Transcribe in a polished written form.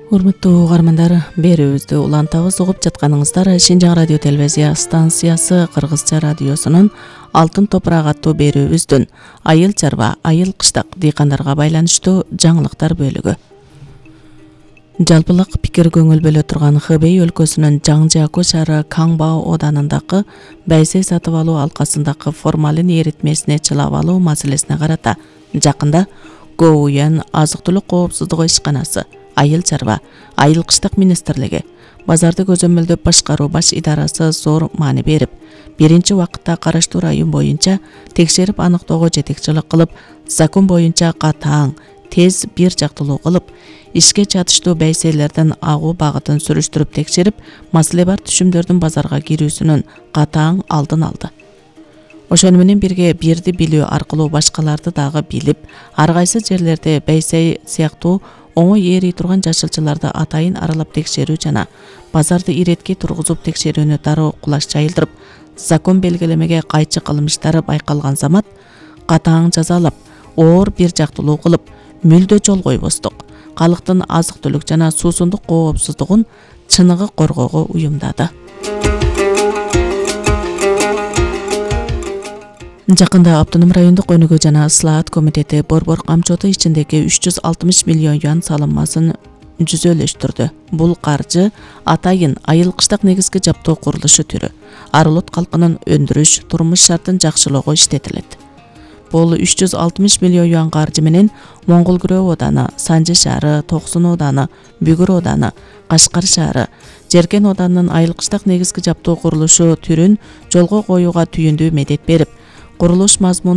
Урматтуу угармандар, берүүбүздү улантабыз. Угуп жатканыңыздар Шинжаң радио телевизия станциясы Кыргызча радиосунун Алтын топурак аттуу берүүбүздүн айыл чарба, айыл кыштак дыйкандарга байланыштуу жаңылыктар бөлүгү. Жалпылык пикир көңүл бөлө турган Хэбэй өлкөсүнүн Жаңжиаку шаары Каңбао оданындагы байсей сатып алуу алкасындагы формалин эритмесине чылап алуу маселесине карата жакында ГОУЯН азык-түлүк коопсуздугу ишканасы, айыл чарба, айыл кыштак министрлиги, базарды көзөмөлдөп башкаруу баш идарасы зор маани берип, биринчи убакытта караштуу район боюнча текшерип аныктоого жетекчилик кылып, закон боюнча катаң, тез бир жактылуу кылып, ишке чатыштуу байсейлердин агуу багытын сүрүштүрүп текшерип, маселе бар түшүмдөрдүн базарга кирүүсүнүн катаң алдын алды. Ошону менен бирге бирди билүү аркылуу башкаларды дагы билип, ар кайсы жерлерде байсей сыяктуу оңой ээрий турган жашылчаларды атайын аралап текшерүү жана базарды иретке тургузуп текшерүүнү дароо кулаш жайылдырып, закон белгилемеге кайчы кылмыштары байкалган замат катаң жазалап, оор бир жактылуу кылып, мүлдө жол койбостук, калктын азык-түлүк жана суусундук коопсуздугун чыныгы коргоого уюмдады. Жакында Автоном райондук өнүгүү жана ыслаат комитети борбор камчоту ичиндеги 360 миллион юан салымасын жүзөлөштүрдү. Бул каржы атайын айыл кыштак негизги жаптоо курулушу түрү, Арылот калкынын өндүрүш, турмуш шартын жакшылоого иштетилет. Бул 360 миллион юан каржы менен Моңгол Күрөө ооданы, Санжы шаары, Токсун ооданы, Бүгүр ооданы, Кашкар шаары, Жеркен оодарынын айыл кыштак негизги жаптоо курулушу түрүн жолго коюуга түйүндүү медет берип, курулуш мазмунун